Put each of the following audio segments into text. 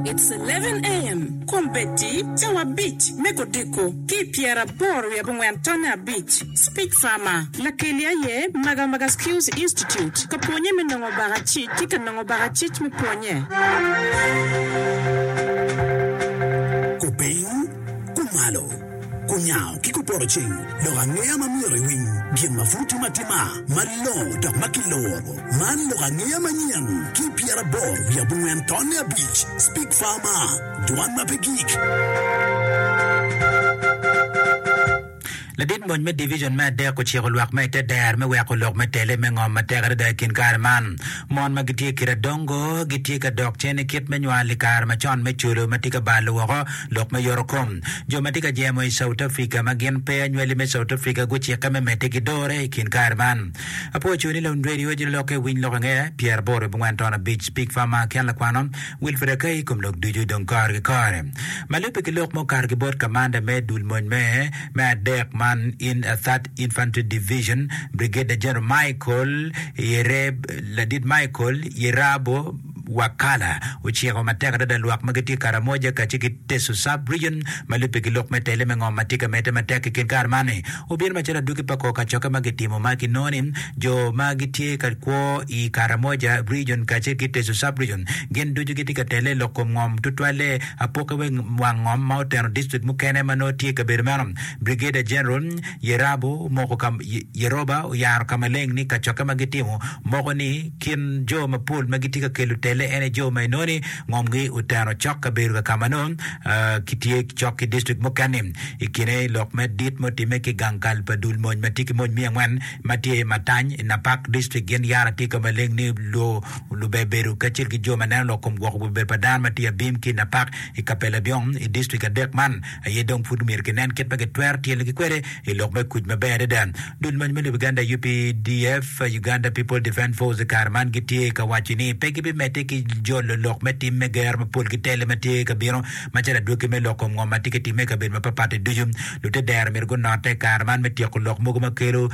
It's 11 AM, Kombeddi cawa abic me kodiko ki i pyeraboro wiye abongwen tonne abic, Speech Farmer, Lakeli aye Magamaga Skills Institute ka pwonye me nongo bakacic ki ka nongo bakacic me pwonye. Kupiny, kumalo, kunyango ki kupoto ceng, lok angeya ma myero iwiny, gin ma pud timo atima, malongo dok ma kiluro. Man lok angeya manyen ki pyeraboro wiye abongwen tonne abic, Speak Farmer, Dwan ma pe gik. Ladit mony me divijon me adek ociko lwak ma i te dero me weko lok me tele me ngom matek adada i kin kare man. Mon ma gitye kit adongo gitye ka dok cen i kit me nywal i kare macon me colo ma tye ka balo woko lok me yoto kom. Jo ma tye ka jemo i South Africa ma gin pe anywali me South Africa gucikke me medde ki dore i kin kare man. Apwoyo cuni lawiny radio jolo lokke winy lok angeya pyeraboro abongwen ton abic Speak Farmer ki an lakwano Wilfred Akai i kom lok ducu dong kore ki kore. Ma lubbe ki lok ma okato ki bot kamanda me dul mony me me adek man in a Third Infantry Division, Brigadier General Michael Yereb, Ladit Michael Yerabo Wakala ociko matek adada lwak ma gitye i Karamoja kacel ki Teso Sub Region ma lubbe ki lok me tele me ngom ma tye ka medde matek i kin kare man ni obino macalo adwogi pa kor kacokke ma gitimo ma kinongo ni jo ma gitye ka kwo i Karamoja Region kacel ki Teso Sub Region gin ducu gitye ka tele i lok kom ngom tutwalle apoki we wang ngom ma oteno district mukene ma nongo tye i kabedo meno. Brigadier General Yerabo omoko ka Yeroba oyaro ka maleng ni kacokke ma gitimo moko ni kin jo mapol ma gitye ka kelo tele en aye jo ma inongo ni ngomgi oteno cok kabedo ka ka ma nongo kitye cok ki district mukene. I kine lok me dit ma otimme ki gang kal pa dul mony ma tye ki mony miya angwen ma tye i Matany i Napak District gin yara tye ka maleng ni lube bedo kacel ki jo ma neno lok kom gwoko gubedo pa dano ma tye abim ki i Napak i Kapelabyong i district adek man aye dong pud myero kinen kit ma kitwero tyelogi kwede i lok me kuc maber adada. Dul mony me lobo Uganda UPDF, Uganda People Defence Force, i kare man gitye ka waco ni pe gibimedde ki jolo lok me tim me gero mapol ki tele ma tye ka bino macalo adwogi me lok kom ngo ma tye ka timme i kabedo mapatpat-ti ducu. Lute dero myero gunotte i kare man me tyeko lok mogo ma kelo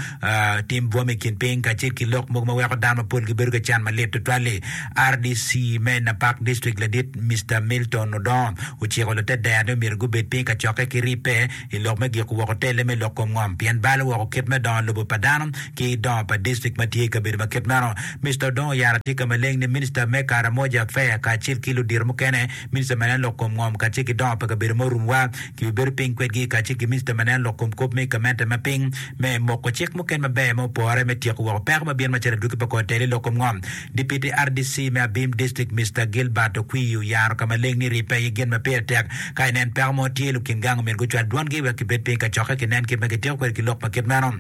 tim bwom i kin piny kacel ki lok mogo ma weko dano mapol gibedo ki can malit tutwal-li. RDC me Napak District ladit Mister Milton Odongo ociko lute dero ni myero gubed piny ka cokke ki ribbe i lok me giko woko tele me lok kom ngom pien balo woko kit me dongo lobo pa dano ki dongo pa district ma tye i kabedo ma kit meno. Mister Odongo oyaro atika maleng ni Minista me Karamoja Affair kacel ki ludito mukene, Minista ma neno lok kom ngom kacel ki dongo pa kabedo ma orumwa kibibedo piny kwedgi kacel ki Minista ma neno lok kom kop me gamente ma piny me moko cik mukene maber ma opore me tyeko woko peko ma bino macalo adwogi pa kor tele i lok kom ngom. Dipiti RDC me Abim District Mister Gilbert Okwii oyaro ka maleng ni ribbe aye gin ma pire tek. Ka inen peko mo tye, lukin gang omyero gucwal dwongi wek gibed piny ka cokke kinen kit ma gityeko kwede ki lok ma kit meno.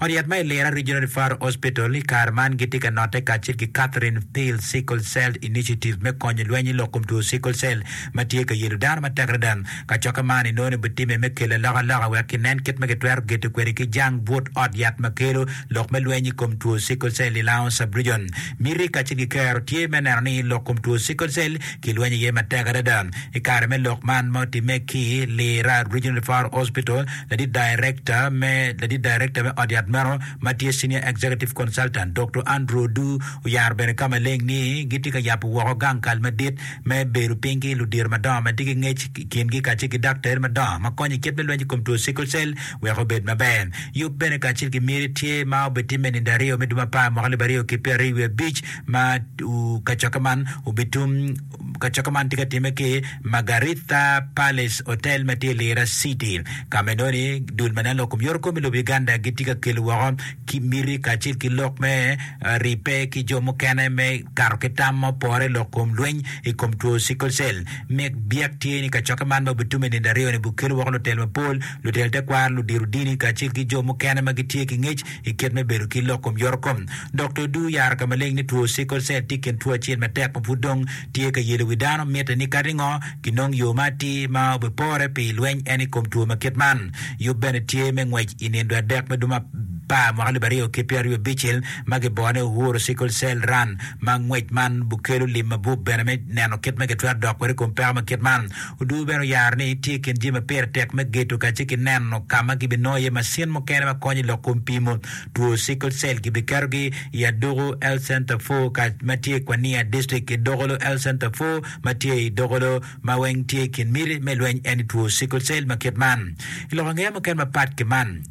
Ot yat ma i Lira Regional Referral Hospital i kare man gitye ka notte kacel ki Catherine Peel Sickle Cell Initiative me konyo lweny i lok kom two sickle cell ma tye ka yelo dano matek adada. Kacokke man inongo ni obitimme me kelo alokaloka wek kinen kit ma kitwero geto kwede ki jang but ot yat ma kelo lok me lweny i kom two sickle cell i Lango Sub-Region. Miti kacel ki kero tye me neno ni lok kom two sickle cell kilwenyo iye matek adada. I kare me lok man ma otimme ki Lira Regional Referral Hospital, ladit darekta me ladit darekta me ot yat meno ma tye Senior Executive Consultant, Doktor Andrew Odu oyaro bene ka maleng ni gitye ka yabo woko gang kal madit me bedo piny ki ludito madongo ma tye ki ngec i kingi kacel ki daktari madongo ma konyo i kit me lweny i kom two sickle cell wek obed maber. Yub bene kacel ki miti tye ma obitimme i nindo aryo me dwe me apar mwaka alip aryo ki pyeraryo wiye abic ma kacokke man obitum kacokke man tye ka timme ki Margaritha Palace Hotel ma tye i Lira City ka ma inongo ni dul ma neno lok kom yoto kom i lobo Uganda gitye ka kelo woko ki miti kacel ki lok me ribbe ki jo mukene me kato ki tam ma opore i lok kom lweny i kom two sickle cell. Mic byek tye ni kacokke man ma obitume i nindo aryo-ni bukelo woko lutel mapol, lutel tekwaro, ludito dini kacel ki jo mukene ma gitye ki ngec i kit me bedo ki lok kom yotokom. Dokta Odu oyaro ka maleng ni two sickle cell tye i kin two acel matek ma pud dong tye ka yelo wi dano. Mitte ni kadi ngo, kinong yo ma atir ma obipore pi lweny en i kom two ma kit man. Yub bene tye me ngwec i nindo adek me dwe me. apar mwaka 2025 ma gibone Uhuru Sickle Cell Run ma ngwec man bukelo lim mabup bene me neno kit ma gitwero dok kwede i kom peko ma kit man. Odur bene oyaro ni tye i kin jami ma pire tek me gedo kacel ki neno ka ma gibinongo iye macin mukene ma konyo i lok kom pimo two sickle cell gibiketogi i Aduku Health Center 4 ka ma tye i Kwania District ki Dokolo Health Center 4 ma tye i Dokolo ma weng tye i kin miti me lweny en i two sickle cell ma kit man. I lok angeya mukene mapat ki man,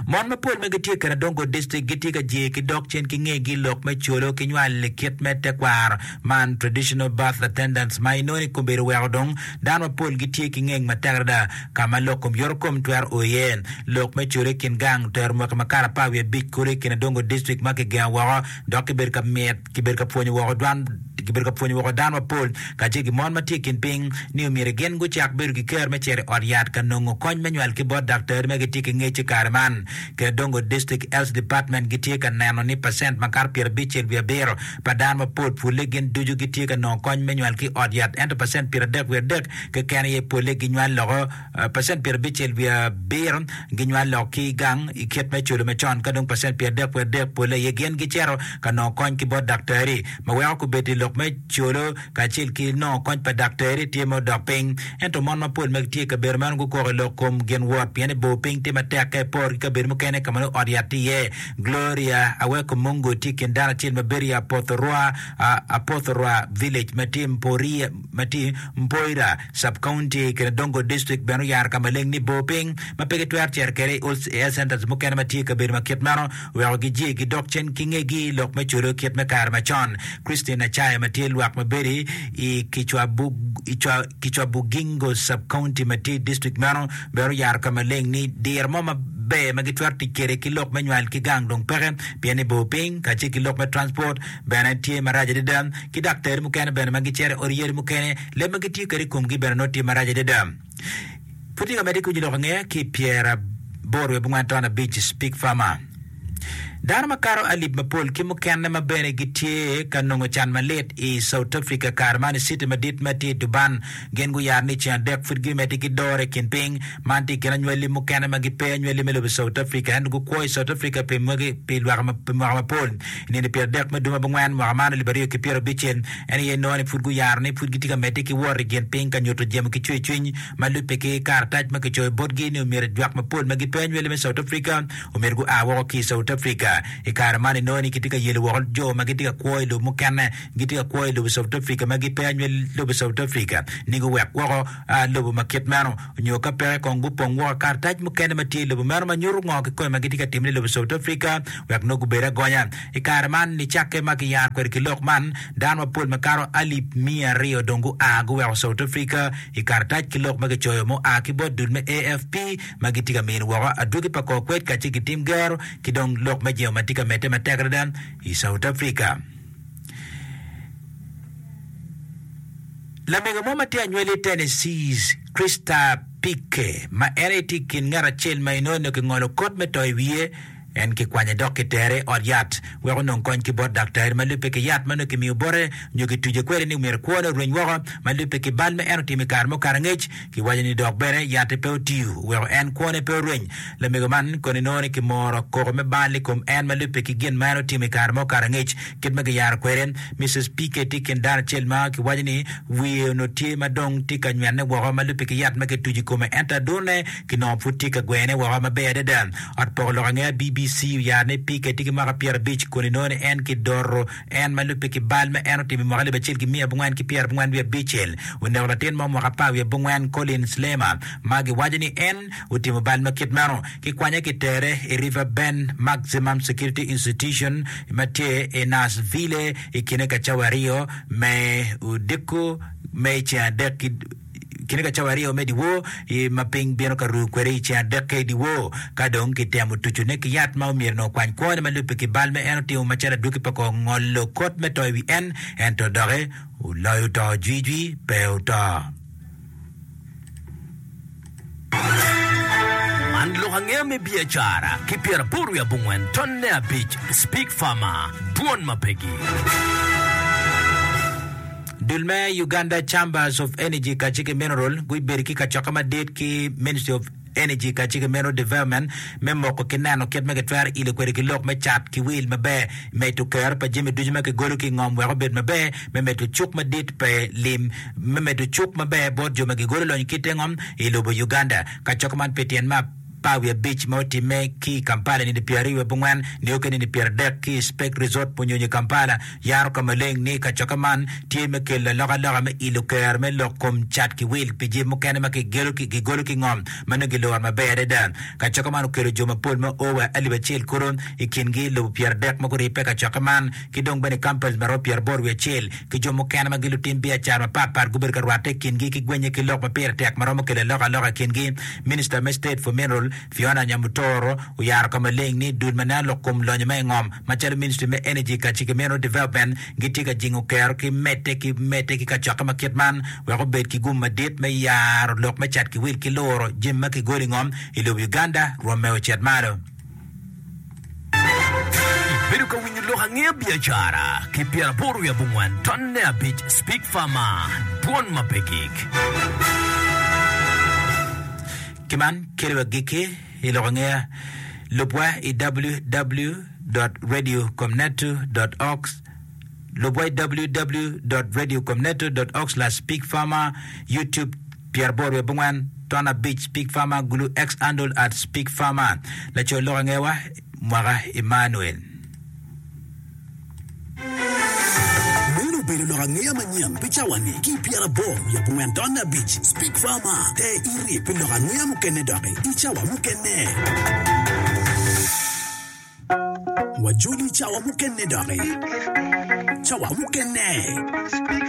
Mon mapol ma gitye i Karadongo District gitye ka jee ki dok cen ki ngegi i lok me colo ki nywal i kit me tekwaro man, traditional birth attendants, ma inongo ni kombeddi oweko dong dano mapol gitye ki ngeng matek adada ka ma lok kom yoto kom twero o iye. Lok me colo i kin gang otero mwaki makato 15 kulu i Kinadongo District ma kigengo woko dok kibedo ka mit Kibedo ka pwonyo woko dwan Kibedo ka pwonyo woko dano mapol kacel ki mon ma tye i kin piny ni omyero gin gucak bedo ki ker me cito i ot yat ka nongo kony me nywal ki bot daktari ma gitye ki ngec i kare man. Kedongo District Health Department gitye ka neno ni pacent makato 57.7 pa dano mapol pwole gin ducu gitye ka nongo kony me nywal ki i ot yat ento pacent 33.3 keken aye pwole ginywal loko Pacent 57.7 ginywal lok ki gang i kit me culo macon ka dong pacent 33.3 polle aye gin gicito ka nongo kony ki bot daktari ma weko kobeddi lok me culo kacel ki nongo kony pa daktari tye ma odok piny. Ento mon mapol ma gitye i kabedo meno gukoko i lok kom gin wot pien ni bor piny tye matek ka iporo ki kabedo mukene ka ma nongo ot yat tye iye. Gloria Aweko Mungu tye i kin dano acel ma bedo i Apothorwa, Apothorwa Village ma tye ma tye Mpoira Sub-County i Kinadongo District bene oyaro ka maleng ni bor piny ma pe gitwero cito kwede i health centers mukene ma tye i kabedo ma kit meno weko gijye gidok cen ki ngegi lok me colo kit me kare macon. Christine Achaya ma tye lwak ma bedo i Kicwabugingo Sub-County ma tye i district meno bene oyaro ka maleng ni diro mo maber ma gitwero tic kwede ki lok me nywal ki gang dong peke pien ni bor piny kacel ki lok me transport bene tye marac adada ki daktari mukene bene ma gicito i od yadi mukene Leb ma gitiyo kwede i komgi bene nongo tye marac adada. Pud tye ka medde ki winyo lok angeya ki i 84.5 Speak Farmer. Dano makato alip mapol ki mukene ma bene gitye ka nongo can malit i South Africa kare man i citi madit ma tye i Durban gin guyaro ni ceng adek pud gimedde ki dore i kin piny. Man tye i kin anywali mukene ma gipe anywali me lobo South Africa ento gukwo i South Africa pi mwaka mapol. I nino 30 me dwe mabongwen mwaka man 2026, En aye nongo ni pud guyaro ni pud gitye ka medde ki wot i gin piny ka nyuto jemo ki cwercwiny ma lubbe ki karatac ma kicoyo botgi ni omyero jwak mapol ma gipe anywali me South Africa omyero gua woko ki i South Africa. I kare man inongo ni kitye ka yelo woko jo ma gitye ka kwo i lobo mukene gitye ka kwo i lobo South Africa ma gipe anywali lobo South Africa ni guwek woko lobo ma kit meno nyo ka peke kong gupong woko karatac mukene ma tye i lobo meno ma nyuto ngo kikome ma gitye ka timone i lobo South Africa wek nongo gubed agonya. I kare man, nicakke ma kiyaro kwede ki lok man, dano mapol makato alip miya aryo dong gua guweko South Africa i karatac ki lok ma kicoyo mua ki bot dul me AFP ma gitye ka mino woko adwogi pa kor kwed kacel ki tim gero ki dong lok me jemo ma tye ka medde matek adada i South Africa. Lamego mo ma tye anywali i Tennessee, Krista Pike, ma en aye tye i kin ngat acel ma inongo ni kingolo kot me to i wiye, En kikwanye dok kitere i ot yat wek onong kony ki bot daktari ma lubbe ki yat ma nongo kimiyo bote nyo kituce kwede ni myero kwone orweny woko ma lubbe ki bal ma en otimo i kare mukato angec. Kiwaco ni dok bene yat-ti pe otiyo oweko en kwone pe orweny. Lamego man kono inongo ni kimoro koko me bal i kom en ma lubbe ki gin ma en otimo i kare ma okato angec. Kit ma kiyaro kwede, Mrs. PK tye i kin dano acel ma kiwaco ni wiye onongo tye ma dong tye ka nywene woko ma lubbe ki yat ma kituco i kome ento adurne kinongo pud tye ka gwene woko maber adada. Ot poko lok angeya BBC oyaro ni Pique tye ki mwaka 50 kun inongo ni en kidoro en ma lubbe ki bal ma en otimo i mwaka 1949. Oneko latin mo mwaka 14 Colin Slemmer ma giwaco ni en otimo bal ma kit meno. Kikwanye kitere i River Bend Maximum Security Institution ma tye i Nashville i kine ka cawa aryo me odiko me ceng adek ki kine ka cawa aryo me dyewor i ma piny bino ka ruu kwede i ceng adekke i dyewor. Ka dong kitemo tucone ki yat ma omyero onongo okwany kwone ma lubbe ki bal ma en otimo macalo adwogi pa kor ngolo kot me to i wi en, ento doki oloyo to jwijwi pe oto. Man lok angeya me biacara ki pyeraboro wiye abongwen tonne abic Speak Farmer, Dwon ma pegi. Dul me Uganda Chambers of Energy kacel ki Mineral gubedo ki kacokke madit ki Ministry of. Energy kacel ki Mineral Development me moko ki neno kit ma kitwero ilo kwede ki lok me cat ki wil maber, medo kero pa jami ducu ma kigolo ki i ngom wek obed maber, me medo cuk madit pe lim, me medo cuk maber bot jo ma gigolo lonyo ki te ngom i lobo Uganda. Kacokke man pi tyen me apar wiye abic ma otimme ki i Kampala nino pyeraryo wiye abongwen nio ki nino pyeradek ki i Speke Resort Munyonyo i Kampala yaro ka maleng ni kacokke man tye me kelo alokaloka me ilo ker me lok kom cat ki wil pi jami mukene ma kigolo ki ngom ma nongo giloro maber adada. Kacokke man okelo jo mapol ma o wa alip acel kulu i kingi lobo pyeradek ma guribbe i kacokke man ki dong bene companies ma romo pyeraboro wiye acel ki jo mukene ma gin lutim biacara mapat pat gubedo ka rwatte i kingi ki gwenye ki lok ma pire tek ma romo kelo alokaloka i kingi. Minista me State for Mineral, Fiona Nyamutoro oyaro ka maleng ni dul ma neno lok kom lonyo ma i ngom macalo Ministry me Energy kacel ki Mineral Development gitye ka jingo kero ki medde ki medde ki kacokke ma kit man wek obed ki gum madit me yaro lok me cat ki wil ki luro jami ma kigolo i ngom i lobo Uganda rwomme ocit malo. Ibedo ka winyo lok angeya biacara ki pyeraboro wiye abongwen tonne abic Speak Farmer, Dwon ma pe gik. Ki man kelo agikki i lok angeya, lubwa i www.radiocomneto.org, lubwa i www.radiocomneto.org/speakfarmer, YouTube pyeraboro wiye abongwen ton abic Speak Farmer Gulu X handle at Speak Farmer. Laco lok angewa Mwaka Emmanuel. Meno obedo lok angeya manyen pi cawa-ni ki i pyeraboro wiye abongwen ton abic. Speak Farmer, Ter iri pi lok angeya mukene doki i cawa mukene. Wajoli i cawa mukene doki. Cawa mukene.